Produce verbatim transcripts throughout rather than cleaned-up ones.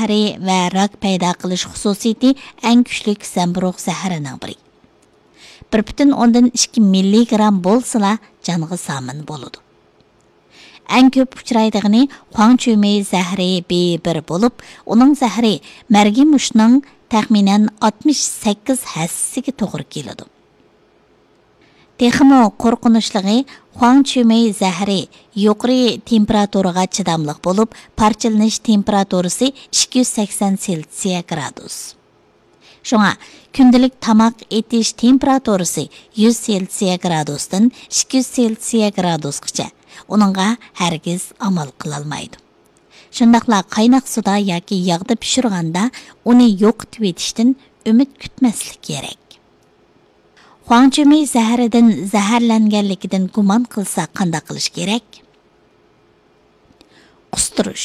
زەھىرى ۋە راك پەيدا قىلىش خۇسۇسىيىتى ئەڭ كۈچلۈك زەمبۇرۇغ زەھىرىنىڭ بىرى. بىر پۈتۈن ئوندىن ئىككى مىللىگرام بولسىلا جانغا زامىن بولىدۇ. ئەڭ كۆپ ئۇچرايدىغىنى خۇاڭچۈمېي زەھىرى بى بىر بولۇپ، ئۇنىڭ زەھىرى مەرگىمۇشنىڭ تەخمىنەن ئاتمىش سەككىز ھەسسىسىگە توغرا كېلىدۇ. تېخىمۇ قورقۇنچلۇقى، خۇاڭچۈمېي زەھىرى يۇقىرى تېمپېراتۇرىغا چىداملىق بولۇپ، پارچىلىنىش تېمپېراتۇرىسى ئىككى يۈز سەكسەن سېلسىيە گرادۇس. شۇڭا كۈندىلىك تاماق ئېتىش تېمپېراتۇرىسى يۈز سېلسىيە گرادۇستىن ئىككى يۈز سېلسىيە گرادۇسقىچە، ئۇنىڭغا ھەرگىز ئامال قىلالمايدۇ. شۇنداقلا قايناق سۇدا ياكى ياغدا پىشۇرغاندا ئۇنى يوقىتىۋېتىشتىن ئۈمىد كۈتمەسلىك كېرەك. خۇاڭچۈمېي زەھىرىدىن زەھەرلەنگەنلىكىدىن گۇمان قىلسا قانداق قىلىش كېرەك؟ قۇستۇرۇش.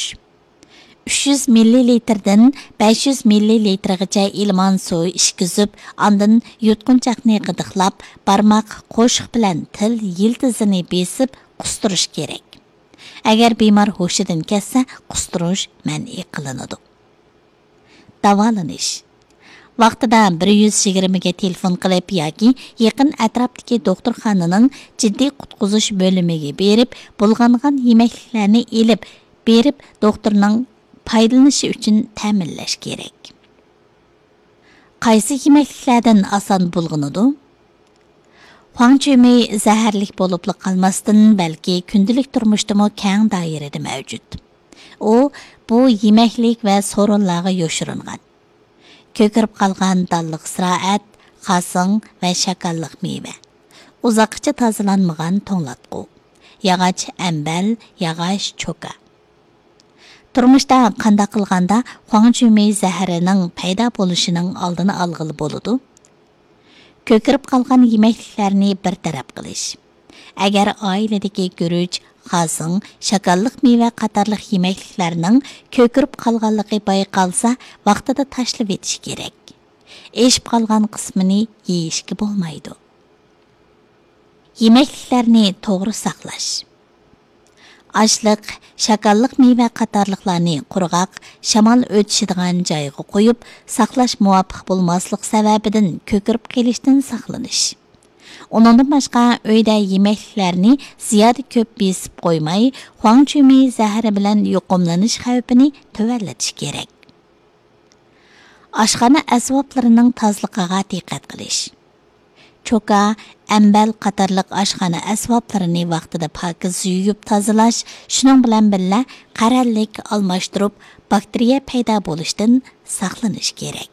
ئۈچ يۈز مىللىلىتىردىن بەش يۈز مىللىلىتىرغىچە ئىلمان سۇ ئىچكۈزۈپ، ئاندىن يۇتقۇنچاقنى غىدىقلاپ، بارماق، قوشۇق بىلەن تىل يىلتىزىنى بېسىپ قۇستۇرۇش كېرەك. ئەگەر بىمار ھوشىدىن كەتسە، قۇستۇرۇش مەنئى قىلىنىدۇ. داۋالىنىش. ۋاقتىدا بىر يۈز يىگىرمىگە تېلېفون قىلىپ ياكى يېقىن ئەتراپتىكى دوختۇرخانىنىڭ جىددىي قۇتقۇزۇش بۆلۈمىگە بېرىپ، بۇلغانغان يېمەكلىكلەرنى ئېلىپ بېرىپ، دوختۇرنىڭ پايدىلىنىشى ئۈچۈن تەمىنلەش كېرەك. قايسى يېمەكلىكلەردىن ئاسان بۇلغىنىدۇ؟ خۇاڭچۈمېي زەھەرلىك بولۇپلا قالماستىن، بەلكى كۈندىلىك تۇرمۇشتىمۇ كەڭ دائىرىدە مەۋجۇت. ئۇ بۇ يېمەكلىك ۋە سورۇنلارغا يوشۇرۇنغان. كۆكىرىپ قالغان دانلىق زىرائەت، خاسىڭ ۋە شاكاللىق مېۋە، ئۇزاققىچە تازىلانمىغان توڭلاتقۇ، ياغاچ ئەمبەل، ياغاچ چوكا. تۇرمۇشتا قانداق قىلغاندا خۇاڭچۈمېي زەھىرىنىڭ پەيدا بولۇشىنىڭ ئالدىنى ئالغىلى بولىدۇ؟ كۆكىرىپ قالغان يېمەكلىكلەرنى بىر تەرەپ قىلىش. ئەگەر ئائىلىدىكى گۈرۈچ، خاسىڭ، شاكاللىق مېۋە قاتارلىق يېمەكلىكلەرنىڭ كۆكىرىپ قالغانلىقى بايقالسا، ۋاقتىدا تاشلىۋېتىش كېرەك. ئېشىپ قالغان قىسمىنى يېيىشكە بولمايدۇ. يېمەكلىكلەرنى توغرا ساقلاش. ئاشلىق، شاكاللىق مېۋە قاتارلىقلارنى قۇرغاق، شامال ئۆتۈشىدىغان جايغا قويۇپ ساقلاش مۇۋاپىق بولماسلىق سەۋەبىدىن كۆكىرىپ قېلىشتىن ساقلىنىش. ئۇنىڭدىن باشقا، ئۆيدە يېمەكلىكلەرنى زىيادە كۆپ بېسىپ قويماي، خۇاڭچۈمېي زەھىرى بىلەن يۇقۇملىنىش خەۋپىنى تۆۋەنلىتىش كېرەك. ئاشخانا ئەسۋابلىرىنىڭ تازىلىقىغا دىققەت قىلىش. چوكا، ئەمبەل قاتارلىق ئاشخانا ئەسۋابلىرىنى ۋاقتىدا پاكىز يۇيۇپ تازىلاش، شۇنىڭ بىلەن بىللە، قەرەللىك ئالماشتۇرۇپ، باكتېرىيە پەيدا بولۇشتىن ساقلىنىش كېرەك.